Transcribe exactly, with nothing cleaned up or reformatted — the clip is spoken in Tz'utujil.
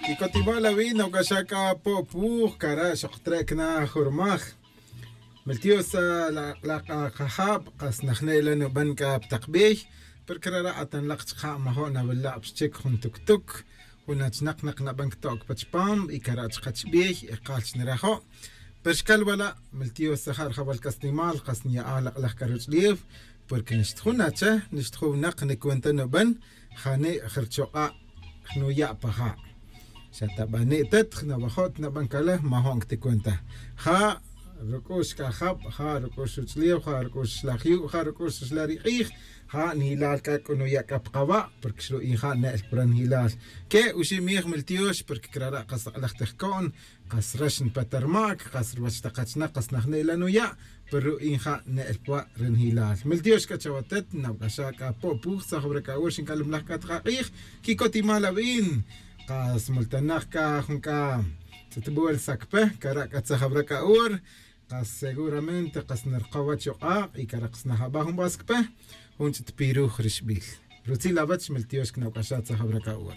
Y cotimal awi' nawc'axa c'a po' puj cara' xoktre' cana jurmaj. Miltiosa, la k'ak'ajab, kas najne' la nuban c'a pa tak bey. Pero crara' atan lak chaka' majo' nawila' pa xchic jun tuctuc, jun achinak nak naban cto'c pa chupam y cara' chaka chibey, ekal chnarajo'. Pero xcal wala', miltiosa ja' rajawal c'asnimal kas nya'aj lak' laj caruch'liew. Porque nixta jun acha, nixta jun winak nicuenta nuban, jani' jrichok'a' jnuya' pa ja'. Xa tabani' tet jnawajo' tnaban cala majo'n cti cuenta. Ja' ruc'ux c'a jab, ja' ruc'ux ruch'liew, ja' ruc'ux xlaj yu', ja' ruc'ux xlaj ri k'ij. Ja' nijilal c'a c'o nuya' c'a pa kaba', porque xru'in ja' ne'el pura nijilal. Que uxi' mij miltiox porque crara' kas lak' laj tejco'n, kas rax npe ta rmac, kas ruwach tak achinak kas najne' la nuya'. Pero ru'in ja' ne'el pwa' ri nijilal miltiox c'a chawatet nawc'axa c'a po' puj tzajawra c'a ur xinc'alum laj c'a tak ak'ij. Quicotimal awin, kas multanak c'a jun c'a tz'itbol sacpe cara' c'a tzajawra c'a ur. Kas seguramente kas narkawach yok'ak' y cara' kas najaba jun ba sacpe, jun ch'itpiruj rixbil. Rutzil awech miltiox cnawc'axa tzajawra c'a ur.